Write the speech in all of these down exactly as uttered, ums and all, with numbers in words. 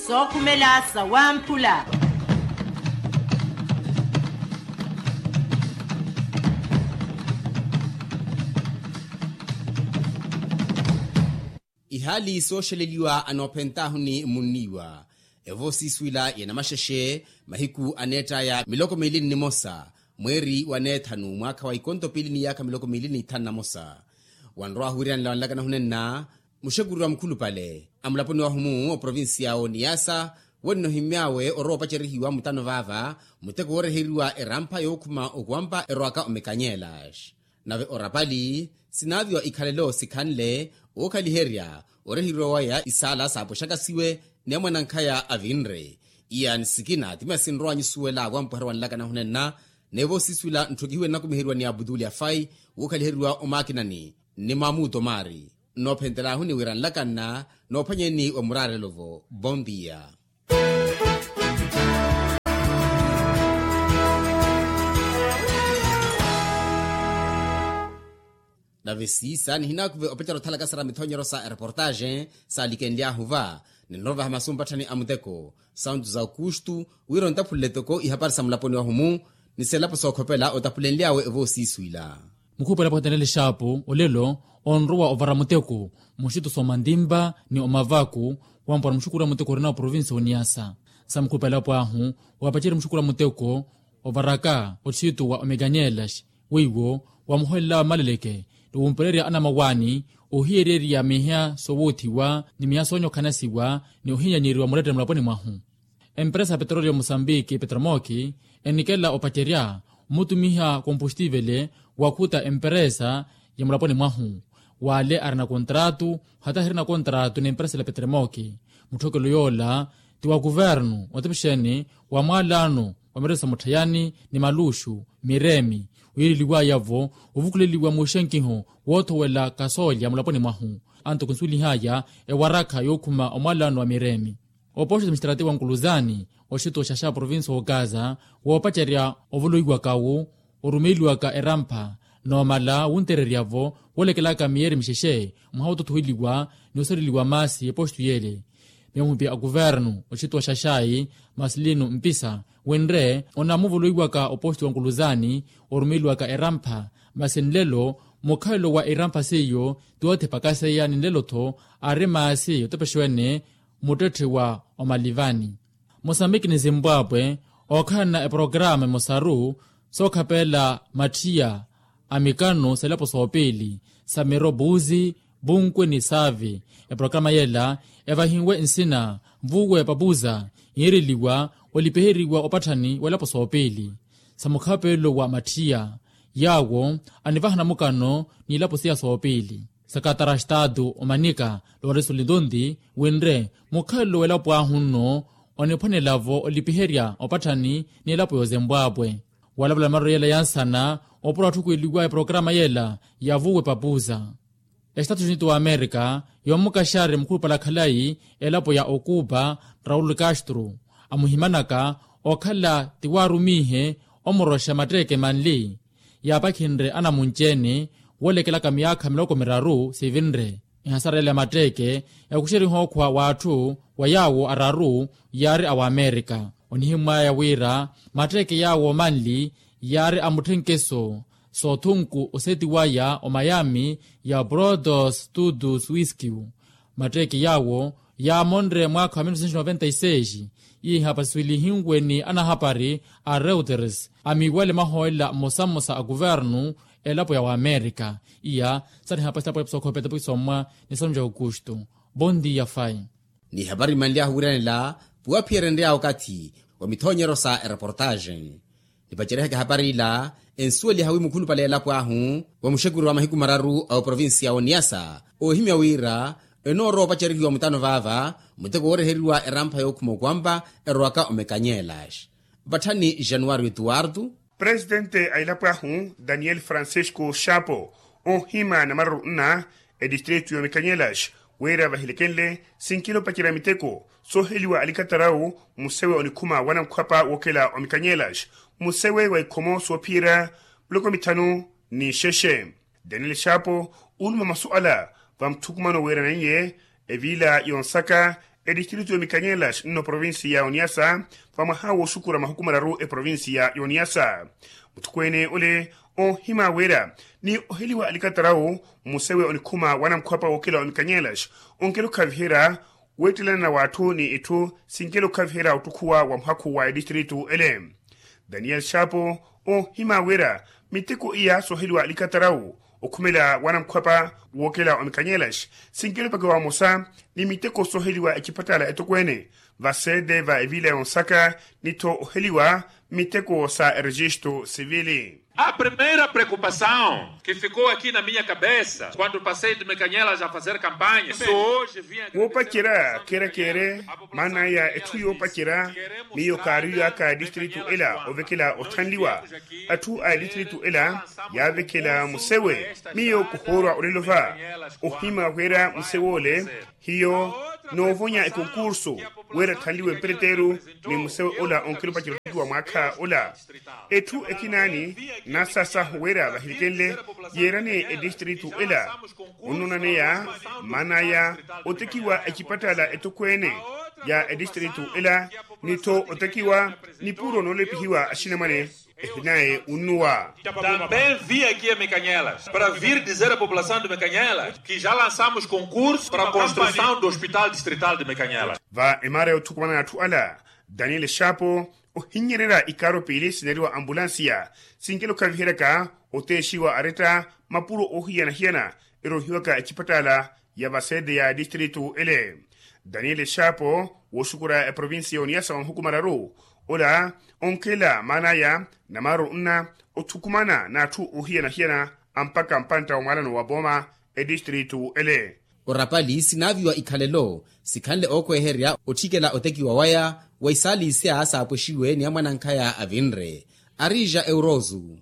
Sookhumela sawamphula. Ihaali sooxeleliwa anoophentaahu ni munniiwa. Evo siiswila ya namaxexe mahiku aneettaya miloko miili nnimosa, mweeri wa neethanu mwaakha wa ikonto piili ni yaakha miloko miili ni ithanu na mosa. Wanrowahu wiiranela wanlakana hunenna muxekuri wa mukhulupale a mulaponi wahumu oprovincia oniyasa, wennohimy'awe orowa opacerihiwa mutano vaava muteko wooreheriwa erampha yookhuma okuwampa erowaka omekanyela. Nave orapali sinaaviwa ikhalelo sikhanle, ookhaliherya oreheriwa waya isaala saapwexaka siwe ni amwanankhaya avinre. Iya ni sikina ti masi nrowa nyusuwela wampweherya wanlakana hunenna. Neevo siiswila ntthokihiwe nnakumiheriwa ni abutuli afai wookhaliheriwa omaakinani ni mamuto maari. Nnoophentelaahuni wira nlakanna noophwanyeni wa muraarelo-vo bondia. Nave siisa nihinaakuve opettera othalaka sara mithonyero sa ereportaxe saalikenly'ahu va. Ninrovaha masu mpatthani a muteko santu za okustu wira ontaphulele toko ihapari sa mulaponi wahumu ni selapo sookhopela otaphulenly'awe evo siiswila. Mukhupela pwatanele xaapu olelo onrowa ovara muteko muxitu s'omantimpa ni omavaku wampora muxukuru a muteko orina oprovincia oniyasa. Sa mukhupela pwaahu wapacerya muxukuru a muteko ovaraka oxitu wa omeganyelas weiwo wamuholela maleleke ni wumpererya anamawaani ohiyererya miha sowoothiwa ni miha soonyokhanasiwa ni ohinyanyeriwa mulettere mulaponi mwahu. Emperesa ya petrolio musambiki petromoki enikela opacerya mmutumiha kompostivele wakhuta emperesa ya mulaponi mwahu wale arina kontratu hata hirina kontratu ni emperesa la petromoki. Mutthokelo yoola ti wa kuvernu otepexeni wa mwalano wa mireso mutthayani ni maluxu miremi wiireliwaya-vo ovukuleliwa muuxenkiho woothowela kasoolya mulaponi mwahu. Anto kinsuwelihaya ewarakha yookhuma omwalano wa miremi. Oposito mistrati wa nkuluzani oxituwa xaxa provinsi wookaza woopacerya ovoloiwaka-wu orumeeliwaka erampha noomala wuntererya-vo woolekelaka miyeeri mixexe mwaha wootothoheliwa ni osereliwa maasi eposito yeele. Miyo muhipi a kuvernu oxituwa xaxayi marcelino mpisa winre onamuvoloiwaka oposito wa nkuluzani orumeeliwaka erampha masi nlelo mukhalelo wa erampha seiyo ti woothipakaseya ni nlelo-tho ari maasi otepexiwene muttetthe wa omalivani. Mosambiki ni zimbwabwe ookhalana eprograma emosaru sookhapela mathiya a mikano sa elapo soopiili sa miro buzi bunkwe ni saavi. Eprograma yela evahiwe nsina vuwe papuza yiireliwa olipiheriwa opatthani wa elapo soopiili sa mukhapelo wa mathiya yaawo anivahana mukano ni ilapo siya soopiili. Sakatara a estatu omanika loreso lintonti winre mukhalelo w'elapo ahu nno oniphwanela-vo olipiherya opatthani ni elapo y'ozembwaapwe. Walavala marero yela yansana opura otthukuweliwa eprograma yela ya vuwe papuza. Estatu unitu wa amerika yoomukaxari mukhulupale akhalayi elapo ya okupa raul castro amuhimanaka okhala ti waarumihe omuroxa matteeke manli yaapakhinre anamunci-ene woolekelaka miyaakha miloko miraru sivinre. Ehasarela ya matteeke yakuxeriha okhwa w'atthu wa yaawo araru yaari a wamerika. Onihimwaya wira matteeke yaawo manli yaari a mutthenkeso soothunku oseti waya omayami ya brothers todos wiskiu. Matteeke yaawo yaamonre mwaakha wa mil novecentos noventa y seis. Iha pasiswilihiwe ni anahapari a reuters amiiwale mahoolela mmosa mmosa a kuvernu elapo ya wamerika. Iya sari hapasi tapo episokho petapo isommwa ni sanu ja aukustu. Bon dia fai. Ni hapari mmanly'ahu wiiranela puwaphiyerya nreya okathi wa mithoonyeryo sa ereportaxe. Nipacerihaka ehapari ila ensuweliha wi mukhulupale elapo ahu wa muxekuri wa mahiku mararu a oprovinsiya oniyasa oohimya wira enoorowa opacerihiwa mutano vaava muteko wooreheriwa erampha yookhuma okwampa erowaka omekanyelax. Vatthani januwari etuwartu presitente a elapo ahu daniel francisco xapo oohima na mararu nna etistritu y'omekanyelax wira vahilekenle sinkila opacerya miteko sooheliwa alikatarawu musewe onikhuma wa namkhwapa wookela omikanyelax musewe wa ikhomo soophiyerya miloko mithanu ni xexe. Daniel xapo ooluma masu ala va muthukumano wiiraneiye eviila yonsaka etistritu ya mikanyelas nno provinsi ya oniasa, vamwaha woosukura mahukumalaru eprovinsi ya oniasa. Muthukweene ole oohima wira ni oheliwa alikatarawu mmusewe onikhuma wanamukhwapa wookela wa mikanyelas onkela okhaviherya weettelana na w'atthu ni itthu sinkela okhaviherya ottukhuwa wa muhakhu wa etistritu ele. Daniel shapo oohima wira miteko iya sooheliwa alikatarawu okhumela wanamukhwapa wookela wa mikanyelas sinkela opakiwa vamosa ni miteko sooheliwa ecipattala etokweene va sede va evila ya onsaka ni-tho oheliwa miteko sa erejistu sivili. A primeira preocupação que ficou aqui na minha cabeça quando passei de mekanyelas a fazer campanha. Woopacerya keerekeere maana ya etthu yoopacerya miyo kaariyo aka distritu ela ovekela othanliwa atthu a distritu ela yaavekela musewe. Miyo kuhoorwa olelo va ohima wira musewe ole hiyo noovonya ekonkursu wira thanliwe mpereteru ni musewe ola onkela opacerya otiki wa mwaakha ola. Etthu ekinaani nasasahu wira vahilikenle yeerane edistritu ela onnonaneya maanaya otekiwa ecipattala etokweene ya edistritu ela ni-tho otekiwa nipuro noolepihiwa axinamwane ehinaye unnuwa. Também vim aqui a mekanyelas para vir dizer a população de mekanyelas que já lançamos concurso para a construção do hospital distrital de mekanyelas. Va emaara ya othukumana atthu ala daniel shapo ohinnyererya ikaaro piili sineriwa ambulansiya sinkela okhaviheryaka oteexiwa aretta mapuro oohiyana-hiyana erohiwaka ecipattala ya vasede ya distritu ele. Daniel shapo wooxukura eprovinsi ya oniasa wa mahukumalaru ola onkhela maanaya namaaro nna othukumana n'atthu oohiyana-hiyana ampakha mpantta wa mwaalano wa pooma edistritu ele. Orapali sinaaviwa ikhalelo sikhanle ookhweherya otthikela otekiwa waya wa isaala isya saapwexiwe ni amwanankhaya avinre arija eurosu.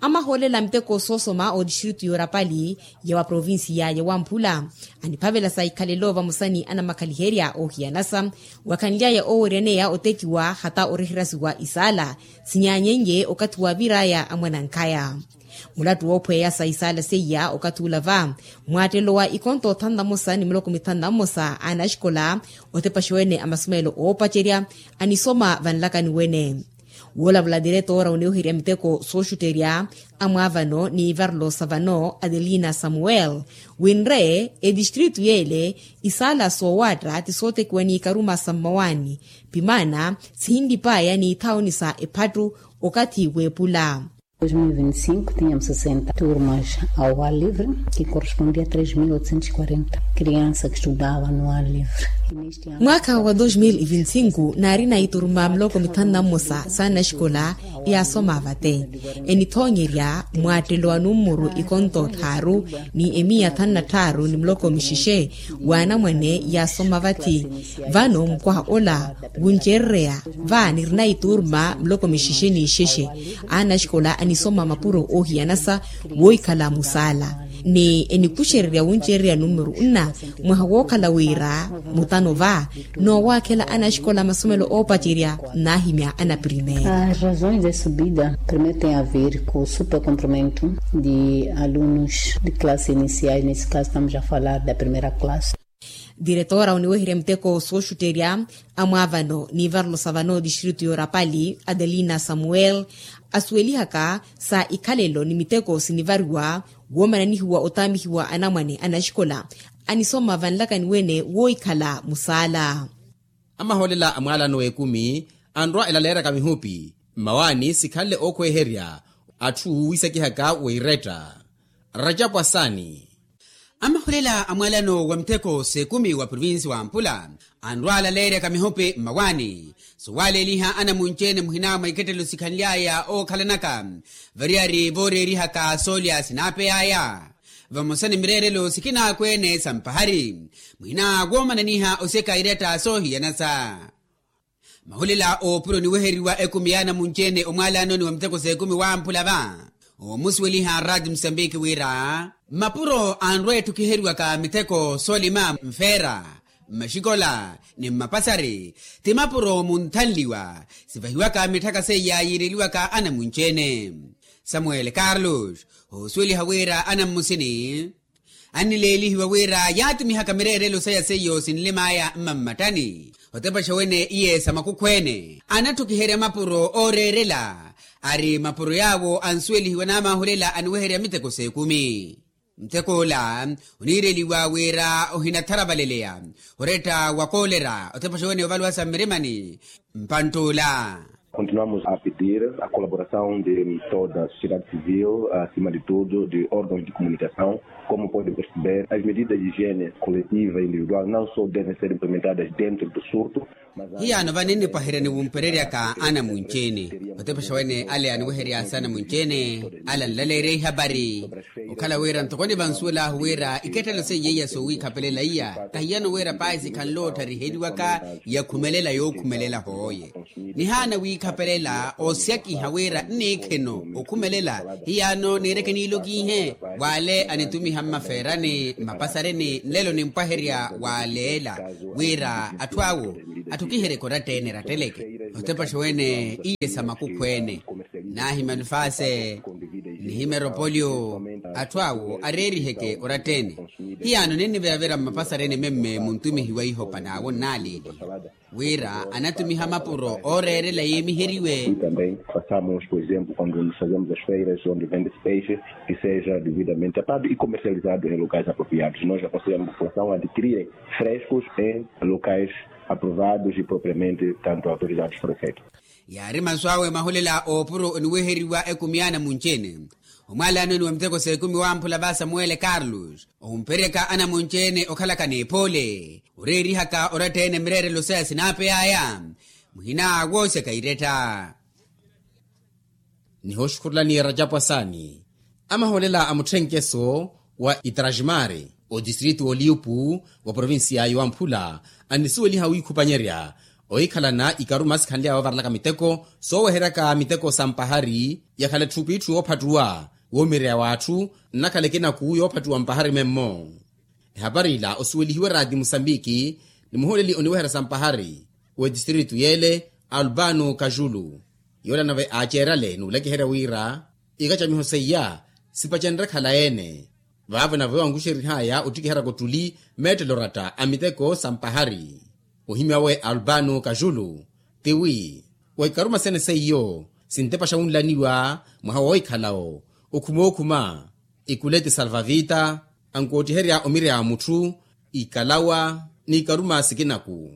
Amahoolela miteko soosoma otistritu y'orapali ya wa provinsiya ya wamphula aniphavela sa ikhalelo vamosa ni anamakhaliherya oohiyanasa wakhanly'aya ooweryaneya otekiwa hata oreherasiwa isaala sinyaanyeiye okathi waavir'aya amwanankhaya. Mulattu woophweya sa isaala seiya okathi ula va mwaattelelo wa ikonto thanu na mmosa ni miloko mithanu na mmosa a anaxikola otepaxa wene a masomelo oopacerya anisoma vanlakani wene. Woolavula diretoora oniweherya miteko sooxutterya amwaavano ni varlosa vano adelina samuel winre etistritu yeele isaala soowaatta ti sootekiwa ni ikaruma sa mmawaani pimaana sihinlip'aya ni ithaoni sa ephattu okathi w'epula. Dois mil e vinte e cinco tínhamos sessenta turmas ao ar livre, que correspondia a três mil oitocentos e quarenta crianças que estudavam no ar livre. Mwaakha wa dos mil e vinte e cinco naarina ituruma miloko mithanu na mmosa sa anaxikola yaasoma vate enithoonyerya mwaattelo wa nummuru ikonto tthaaru ni emiya thanu na tthaaru ni miloko mixixe w'anamwane yaasoma vathi. Vano mukwaha ola wuncererya va nirina ituruma miloko mixixe ni ixexe anaxikola anisoma mapuro oohiyanasa woohikhala musaala ni enikuxererya wuncererya numeru nna mwaha wookhala wira mutano va noowaakhela anaxikola masomelo oopacerya naahimya anaprimera. As razões de subida primeiro tem a ver com o supercomprimento de alunos de classe iniciais nesse caso estamos a falar da primeira classe. Diretoora oniweherya miteko sooxutterya amwaavano ni varlosa vano distritu y'orapali adelina samuel asuwelihaka sa ikhalelo ni miteko sinivariwa woomananihiwa otaamihiwa anamwane anaxikola anisoma vanlakani wene woohikhala musaala. Amahoolela a mwaalano w'ekumi anrwa elaleeraka mihupi mmawaani sikhanle ookhweherya atthu wiisakihaka weiretta rajapu asani. Amahulela a mwaalano wa mitheko s'ekumi wa provinsi wa mpula anrwaalaleeryaka mihope mmawaani sowaaleeliha anamunci-ene muhina mwa ikettelo sikhanly'aya ookhalanaka variyari vooreerihaka soolya sinaapey'aya vamosa ni mireerelo sikinaakweene sa mpahari muhina woomananiha oseka iretta soohiyanasa. Mahulela oopuro niweheriwa ekumi ya anamunci-ene omwaalaanoni wa miteko s'ekumi wamphula va omusuweliha rati musambiki wira mapuro anrwa etthukiheriwaka miteko soolima mfeera mmaxikola ni mmapasari ti mapuro munthanliwa sivahiwaka mitthaka seiya yiireliwaka anamunci-ene. Samuel carlos hoosuweliha wira anammusini Annileelihiwa wira yaatumihaka mireerelo saya seiyo sinlim'aya mmammattani. Otepaxa wene iye sa makukhweene anattukiherya mapuro ooreerela. Ari mapuro yaawo ansuwelihiwa naamaahulela aniweherya miteko s'ekumi. Muteko ola oniireliwa wira ohinatharavaleleya oretta wa koolera otepaxa wene ovaluwasa mmirimani. Mpantt'ula. Continuamos a pedir a colaboração de toda a sociedade civil, acima de tudo de órgãos de comunicação, como pode perceber as medidas de higiene coletiva e individual não só devem ser implementadas dentro do surto. Hiyaano vano ennipwaherya ni wumpereryaka anamunci-ene otepexa wene ale aniweheryasa anamunci-ene. Ale anlaleerya ihapari okhala wira ntoko nivansuwelahu wira ikettelo seiya iya soowiikhapelela iya tahiyano wira pahi sikhanle ootthariheeliwaka. Yakhumelela yookhumelela hooye nihaana wiikhapelela oosyakiha wira nniikheno okhumelela. Hiyaano niireke niilokiihe w'ale anitumiha mmafeerani mmapasareni nlelo nimpwaherya w'aleela wira atthu awo atthukiheryeke oratta-ene eratteleke. Otepaxa wene iye sa makukhweene naahimya nfaase nihimya eropoliyo atthu awo areeriheke oratta-ene. Hiyaano ninniviravira mmapasareni memme muntumihi wa ihopa n'awo nnaaleeliha wira anatumiha mapuro ooreerela yeemiheriwe. Também façamos por exemplo quando nos fazemos as feiras onde vende-se peixe que seja devidamente tapado e comercializado em locais apropriados nós aconselhamos a população a adquirirem frescos em locais aprovados e propriamente tanto autorizados por efeito. Yaari masu awe mahulela oopuro oniweheriwa ekumi y'anamunci-ene. Omwaalano eni wa miteko s'ekumi wamphula va samuwele carlos ohumperyaka anamunci-ene okhalaka n'ephoole oreerihaka oratta-ene mireerelo saya sinaapey'aya muhina woosyaka iretta. Nihooxukhurulani rajapu asaani amaholela a mutthenkeso wa itrajimari otistritu oliupu wa provincia yowamphula annisuweliha wiikhupanyerya ohikhalana ikaruma sikhanly'awe ovarelaka miteko sooweheryaka miteko sa mpahari yakhala etthupitthu yoophattuwa woomireya w'atthu nnakhala ekinaku yoophattuwa mpahari memmo. Ehapari ila osuwelihiwe raati musambiki ni muhooleli oniweherya sa mpahari w'etistritu y'ele albano kajulu yoolana ve aaceerale n'ulakiherya wira ikacamiho seiya sipacenre khala ene vaavo nave wankuxerih'aya ottikiheryaka ottuli meettelo oratta a miteko sa mpahari. Ohimya we albano kajulu tiwi wa ikaruma sene seiyo sintepaxa wunlaniwa mwaha woohikhalawo okhumookhuma ikuleti salvavita ankoottiherya omirya a mutthu ikalawa n'ikaruma sikinaku.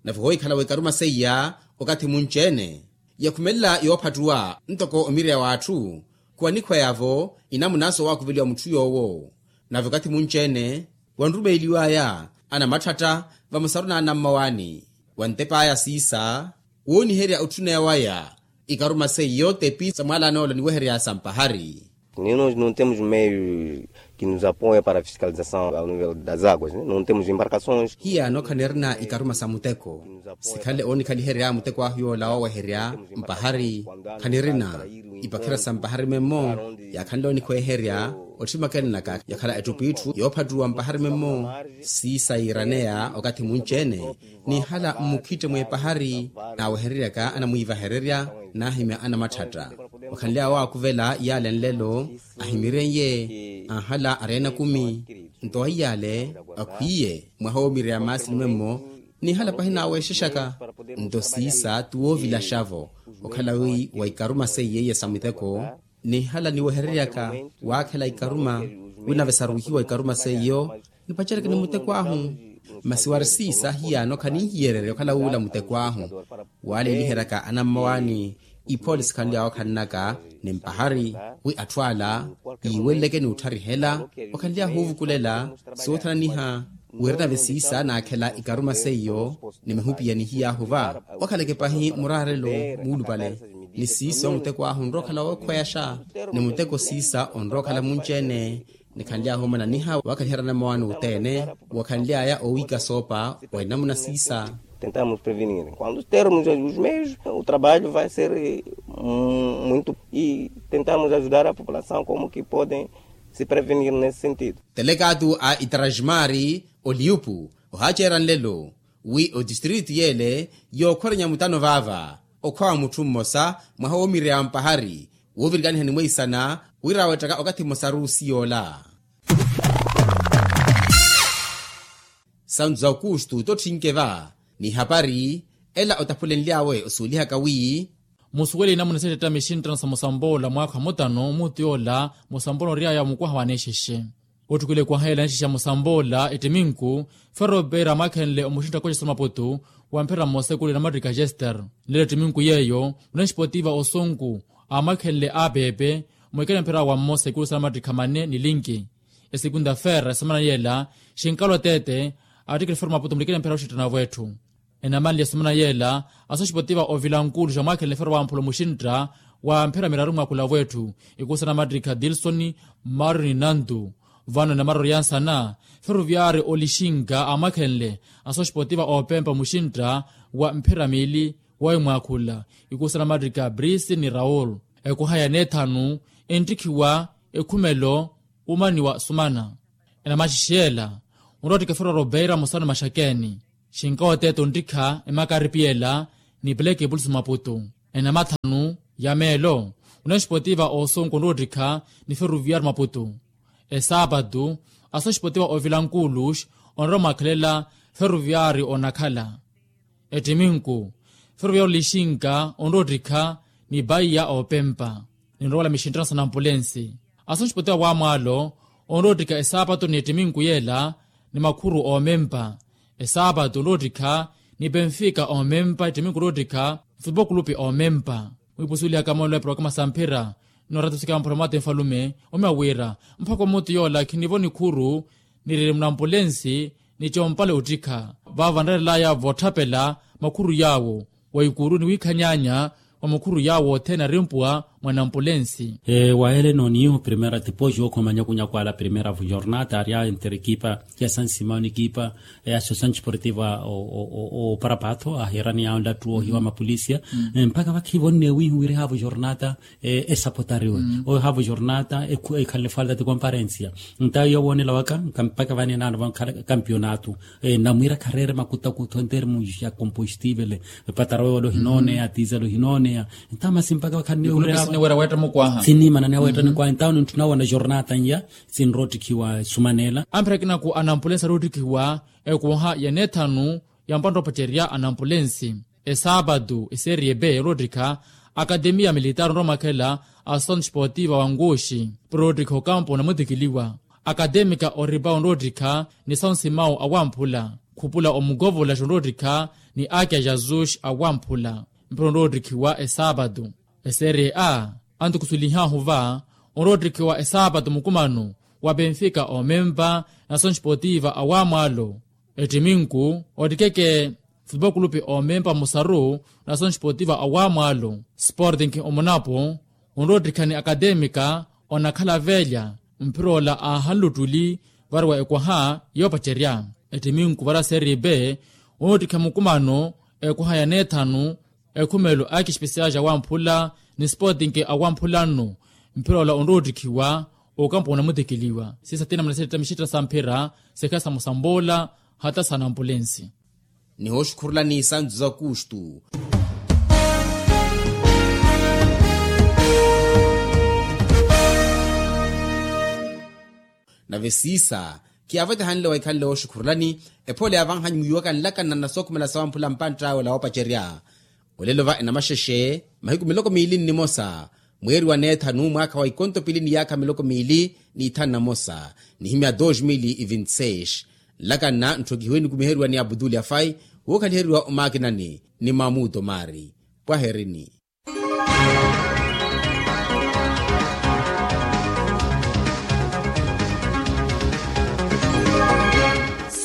Nave ohoohikhalawo ikaruma seiya okathi munci-ene yakhumelela yoophattuwa ntoko omirya w'atthu khuwanikhweyavo inamunanso waakuveliwa mutthu yoowo. Nave okathi munci-ene wanrumeeliw'aya anamatthatta vamosaru n'anammawaani wantep'aya siisa wooniherya otthuneya waya ikaruma seiyo tepi sa mwaalano ola niweherya sa mpahari. Nino não temos meios que nos apoia para a fiscalização ao nível das águas não temos embarcações. Hiyaano khanirina ikaruma sa muteko sikhanle oonikhaliherya muteko ahu yoola wooweherya mpahari khanirina ipakhira sa mpahari memmo yaakhanle oonikhweeherya ottimakennaka yakhala ettupittu yoophattuwa mpahari memmo siisa yiiraneya okathi munci-ene nihala mmukhitte mw'epahari naawehereryaka anamwiivahererya naahimya anamatthatta wakhanly'awe waakuvela iyaale nlelo ahimiren'ye anhala areena kumi nto aiy'ale akhwiiye mwaha woomireya maasini memmo nihala pahi naaweexexaka nto siisa ti woovilaxavo okhala wi wa ikaruma seiye iya sa muteko nihala niwehereryaka waakhela ikaruma wi nave saruwihiwa ikaruma seiyo nipacereke ni muteko ahu masi wari siisa hiyaano khaninhiyererya okhala wuula muteko ahu waaleeliheryaka anammawaani iphoole sikhanly'awe okhannaka ni mpahari wi atthu ala yiiweleleke n'uttharihela okhanly'ahu ovukulela soothananiha wira nave siisa naakhela ikaruma seiyo ni mihupiya nihiy'ahu va wakhaleke pahi muraarelo muulupale ni siisa omuteko ahu onrowa okhala wookhweyaxa ni muteko siisa onrowa okhala munci-ene nikhanly'ahu omananiha waakhaliherya anammawaani othene wakhanly'aya owiika soopa wa inamuna siisa. Tentamos prevenir quando termos os meios o trabalho vai ser muito e tentamos ajudar a população como que podem se prevenir nesse sentido. Telekaatu a itrajimari oliupu ohaaceera nlelo wi otistritu y'ele yookhorenya mutano vaava okhwa wa mutthu mmosa mwaha woomireya mpahari woovirikaniha ni mweisana wira awettaka okathi mmosa ruusi yoola. Santu za okustu tottinke va ni hapari ela otaphulenly'awe osuulihaka wi. Musuweli inamuna settetta mixinttano sa musamboola mwaakha mutano muutu yoola musamboola ory'aya wa mukwaha wa anexexe. Ottukwile ekwaha yeela anexexe a musamboola ettiminku ferropeira amakhenle omuxintta koxesa maputu wa mphira mmosa ekulu ya namattikha jester. Nlelo ettiminku yeeyo unanxipotiva osonku amakhenle apepe mwekela mphira wa mmosa ekulu sa namattikha manne ni linki. Esekunta ferra esemana yeela xinkalo ateete attikile ferro maputu mulikela mphira oxintta na vwetthu. Enamanle esemana yeela asoxipotiva ovilankulu xamwakhenle ferro wamphula omuxintta wa mphira miraru mwakhula vwetthu. Ikusa namattikha dilsoni mario ni nantu vano enamararu yansana ferroviari olixinka amwakhenle asoxipotiva opempa omuxintta wa mphira miili wa imwakhula. Ikusa namattikha brisi ni raul. Ekwaha ya neethanu enttikhiwa ekhumelo umaniwa sumana. Enamaxixi yeela onroottikha ferro robeira mosano maxakeeni. Xinkawo teeto onttikha emakaripi yeela ni pleke pulsu maputu. Enamathanu ya meelo unanxipotiva osonku onroottikha ni ferroviari maputu. Esaapatu asoxipotiva ovilankulux onrowa mwakhelela ferroviari onakhala. Ettiminku ferroviari olixinka onroottikha ni paiya opempa. Ninrowala mixinttano sa nampulensi asoxipotiva wamwaalo onroottikha esaapatu ni ettiminku yeela ni makhuru omempa. Esaapatu onroottikha ni penfika omempa ettiminku onroottikha nfupo kulupi omempa. Mwiipusulihaka moolelo ya programa sa mphira ni oratusika mphula mwaate nfalume omiya wira mpakha omuutu yoola khinivo nikhuru niriri munampulensi ni compale ottikha. Vaavo vanrerelaya voottapela makhuru yaawo wa ikuru ni wiikhanyaanya wa makhuru yaawo othene arimpuwa mwa nampulensi. Waele noniyo primera tipoxi okhoma nyakunyaku ala primera vujornata ari a enterekipa ya sansimao nikipa ya sosanti sportiva o parapatho aherani ya nlattu ohiwa mapolisia. Mpakha vakhivo nnewihi wiri haavu jornata esapotariwe oyo haavu jornata ekhalele falta ti komparensia. Ntayo yowoonela waka mpakha vanenaano vankhala kampionatu namwira khareere makutakutho entermu ya kompostivele. Epatara wewe olohinooneya tiza olohinooneya. Ntamasi mpakha vakhanniwira wetta mukwaha sinimana niya wetta nikwaha ntawo ninthu nawona jornata nya sinroottikhiwa sumanela. Amphira kinaku anampulensi aroottikhiwa ekwaha ya neethanu ya mpantta opacerya anampulensi. Esaapatu eserie b eroottikha akademiya militaari onrowa mwakhela a santu sportiva wa nkuxi piroottikha okampo onamutikiliwa. Akademika oripa onroottikha ni sansimau awamphula khupula omukovolaxa onroottikha ni akya jazuxi awamphula. Mpira onroottikhiwa esaapatu eserie a antukusulihahu va onroottikhiwa esaapatu mukumano wa penfika omempa na santu sportiva awamwaalo. Ettiminku ottikeke futupokulupi omempa musaru na santu sportiva awamwaalo sportinki omunapo onroottikha ni akademika onakhala velya. Mpira ola aahanle ottuli variwa ekwaha yoopacerya. Ettiminku varia serie b onroottikha mukumano ekwaha ya neethanu ekhumelo aki espesiali awamphula ni sportinki awamphula nno. Mpira ola onroottikhiwa okampo onamutikiliwa sisa tina muna setta mixetta sa mphira sekha sa musamboola hata sa nampulensi. Nihooxukhurulani santu za kustu. Nave siisa khiyaavetahanle waikhanle wooxukhurulani ephole yaavanhanyu mwiiwaka nlakana na sookhumela sawamphula mpantt'awe ola woopacerya. Olelo va enamaxexe mahiku miloko miili nnimosa mweeri wa neethanu mwaakha wa ikonto pili ni yaakha miloko miili n'ithanu na mosa nihimya dos mil e vinti seis. Nlakana ntthokihiwe nikumiheriwa ni abutuli afai wookhaliheriwa omaakinani ni mamuto maari. Pwaherini.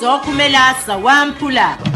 Sookhumela sawamphula.